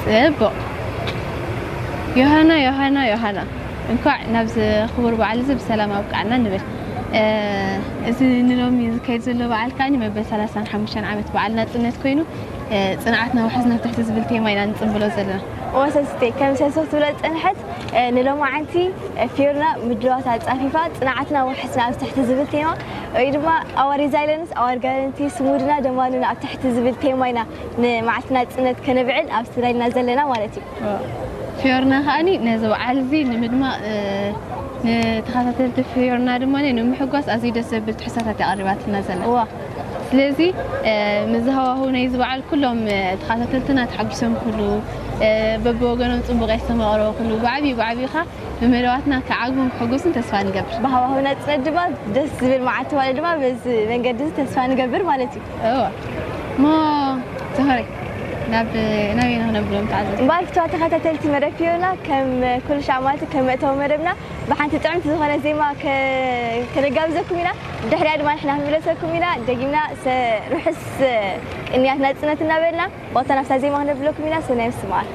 ጽቡቕ። ዮሃና፣ ዮሃና፣ ዮሃና፣ እንኳዕ ናብዚ ክቡር በዓል እዚ ብሰላም ኣብቃዕና ንብል። እ፣ እዚ ንሎሚ ዝካየድ ዘሎ በዓል ከዓኒ መበል ሰላሳን ሓሙሽተን ዓመት በዓል ናጽነት ኮይኑ፣ እ፣ ጽንዓትና ውሕስና ኣብ ትሕቲ ዝብል ቴማ ኢና ንጽንብሎ ዘለና። እወ ሰስቴ፣ ከም ሰሶ ትብሎ ዝጸንሐት፣ እ፣ ንሎማዓንቲ፣ እ፣ ፊዮርና ምድላዋት ኣጻፊፋ፣ ጽንዓትና ውሕስና ኣብ ትሕቲ ዝብል ቴማ፣ ወይ ድማ Our Resilience, Our Guarantee፣ ስሙድና ደማኑና ኣብ ትሕቲ ዝብል ቴማ ኢና ንመዓልቲ ናጽነት ከነብዕል ኣብ ስትዳይና ዘለና ማለት እዩ። ፊዮርና ከዓኒ ነዚ በዓል እዚ ንምድማቕ፣ እ፣ ንተኸታተልቲ ፊዮርና ድማ ንምሕጓስ ኣዝዩ ደስ ዘብል ትሕዝቶታት እያ ኣቕሪባትና ዘላ። እዋ። ስለዚ፣ እ፣ ምስ ሃዋህው ናይዚ በዓል ኩሎም፣ እ፣ ተኸታተልትና ተሓጒሶም ክህሉ፣ እ፣ በብወገኖም ጽቡቕ የስተማቕርዎ ክህሉ፣ ብዓብዩ ብዓብዩ ኸኣ ንመደባትና ክዓግቡን ክሕጉሱን ተስፋ ንገብር። ብሃዋህው ናጽነት ድማ ደስ ዝብል መዓልቲ ማለት ድማ በዚ መንገዲ እዚ ተስፋ ንገብር ማለት እዩ። እዋ። እሞ ተኸሪ ናብ ናበይ ንኽነብሎም ተዓዘብቲ? እምበኣር ፍትዋ ተኸታተልቲ መደብ ፊዮና፣ ከም ኩሉ ሻዕ ማለት ከም መእተዊ መደብና ብሓንቲ ጥዕምቲ ዝኾነ ዜማ ከ-፣ ከነጋብዘኩም ኢና። ድሕሪያ ድማ ንሕና ክንምለሰኩም ኢና። ደጊምና ሰ-፣ ርሑስ ቅንያት ናጽነት እናበልና፣ ወቕታ ናብታ ዜማ ክነብለኩም ኢና። ሰናይ ምስትምዓር።